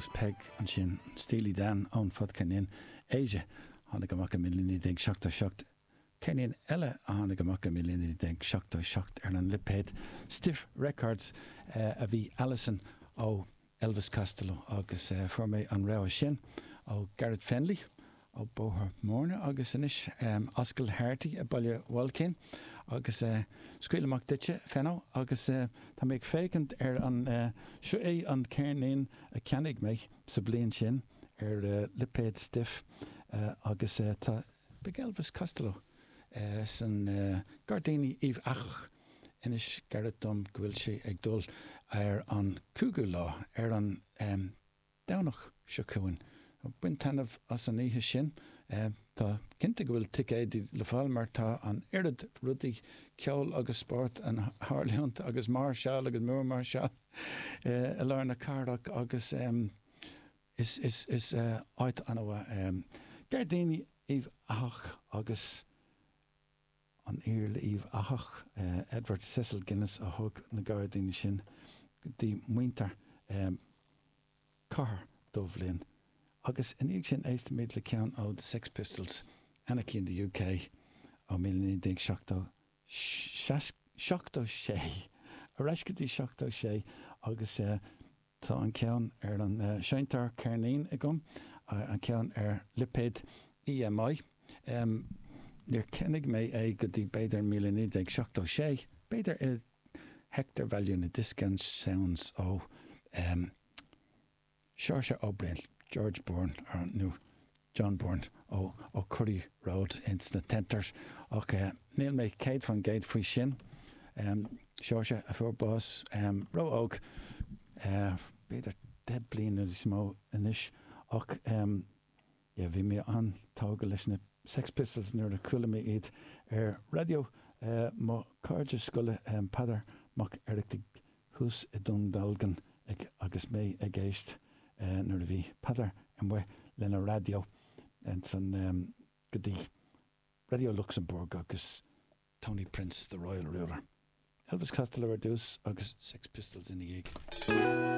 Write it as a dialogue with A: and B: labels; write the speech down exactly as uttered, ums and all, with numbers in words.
A: Agus Peg ansin, Steely Dan ón fadcheirnín Aja, tháinig amach i míle naoi déag seachtó seacht. Ceirnín eile a tháinig amach i míle naoi déag seachtó seacht ar an lipéad Stiff Records a bhí Alison ó Elvis Costello agus fuair mé an rogha sin ó Garrett Fennelly ó Bóthar Mhúirne agus anois Ascaill Harty i Baile Bhailcín agus scaoil amach duitse, Fenno, agus tá mé ag féachaint ar an, seo é an ceirnín a cheannaigh mé sa bhliain sin ar lipéad Stiff agus tá Big Elvis Costello san Gairdíní Uíbh Eachach. Inis Garrett dom go bhfuil sé ag dul ar an cúigiú lá, ar an Domhnach seo chugainn. Bain taitneamh as an oíche sin. Tá cinnte go bhfuil ticéidí le fáil mar tá an oiread rudaí ceoil agus spóirt ag tarlúint agus máirseáil agus múrmháirseáil i lár na cathrach agus is is is áit an-mhaith. Gairdíní Uíbh Eachach agus an Iarla Uíbh Eachach, Edward Cecil Guinness a thóg na gairdíní sin go dtí muintir Cathair Dubhlinn. Agus ina dhiaidh sin éistfimid le ceann ó The Sex Pistols, Anarchy in the UK ó míle naoi déag seachtó seachtó sé, ar ais go dtí seachtó sé agus tá an ceann ar an seinnteoir ceirnín agam, an ceann ar lipéad EMI. Níor cheannaigh mé é go dtí b'fhéidir míle naoi déag seachtó sé, b'fhéidir i Hector Value na Discount Sounds ó Seoirse Ó Briain, George Byrne nó John Byrne ó ó Curry Road ins na Tenters ach níl mé céad faoin gcéad faoi sin. Seoirse a fuair bás ró-óg, b'fhéidir deich bliana níos mó anois ach yeah bhí mé an-tógtha leis na Sex Pistols nuair a chuala mé iad ar raidió mo chairde scoile Peadar Mac Oireachtaigh thuas i Dún Dealgan ag agus mé ag éist nuair a bhí Peadar amuigh lena raidió ansan go dtí Raidió Luxembourg agus Tony Prince, The Royal Ruler. Elvis Costello ar dtús agus Sex Pistols ina dhiaidh.